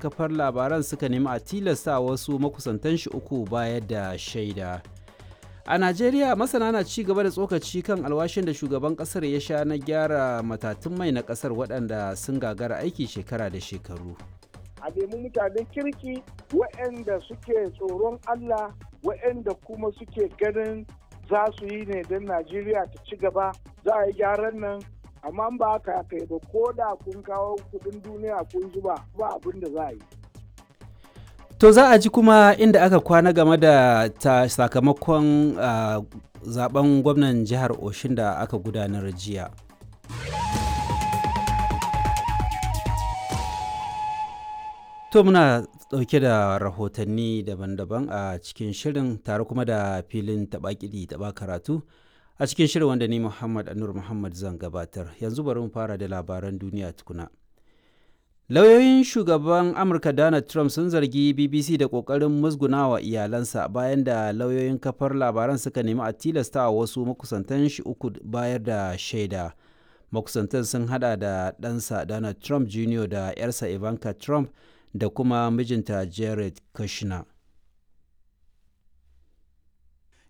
kafar labaran suka nemi a tilasta wasu makusantan shi uku bayar da shaida. A Najeriya, masana na ci gaba da tsokaci kan alwashin da shugaban kasar ya sha na gyara matatun mai na kasar waɗanda sun gagara aiki shekara da shekaru. A nemi mutanen kirki waɗanda suke tsoron Allah, waɗanda kuma suke ganin za su yi ne don Najeriya ta ci gaba, za a yi gyaran nan. Amma ba haka aka yi ba, ko da kun kawo kuɗin duniya kun zuba, ba abin da za a yi. To, za a ji kuma inda aka kwana game da ta sakamakon zaben gwamnan jihar Oshin da aka gudanar jiya. To, muna ɗauke da rahotanni daban-daban a cikin shirin, tare kuma da filin taɓa kiɗi taɓa karatu a cikin shirin wanda ni Muhammad Anur Muhammad zan gabatar. Yanzu bari mu fara da labaran duniya tukuna. Lauyoyin shugaban Amurka Donald Trump sun zargi BBC da ƙoƙarin musgunawa iyalansa bayan da lauyoyin kafar labaran suka nemi a tilasta wasu makusantan shi uku bayar da shaida. Makusantan sun hada da ɗansa Donald Trump Jr. da 'yarsa Ivanka Trump da kuma mijinta Jared Kushner.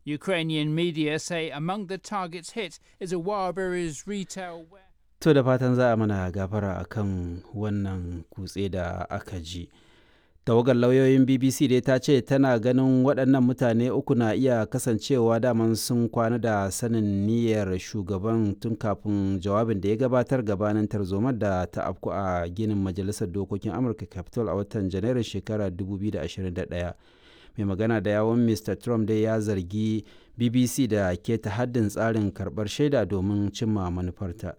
Ukrainian media say among the targets hit is a Wildberries retail warehouse. To, da fatan za a mana gafara a kan wannan kutse da aka ji. Tawagar lauyoyin BBC dai ta ce tana ganin waɗannan mutane uku na iya kasancewa daman sun kwana da sanin niyyar shugaban tun kafin jawabin da ya gabatar gabanin tarzomar da ta afku a ginin Majalisar Dokokin Amurka, Capitol, a watan Janairun shekarar 2021. Mai magana da yawon Mr. Trump dai ya zargi BBC da keta haddin tsarin karbar shaida domin cimma manufarta.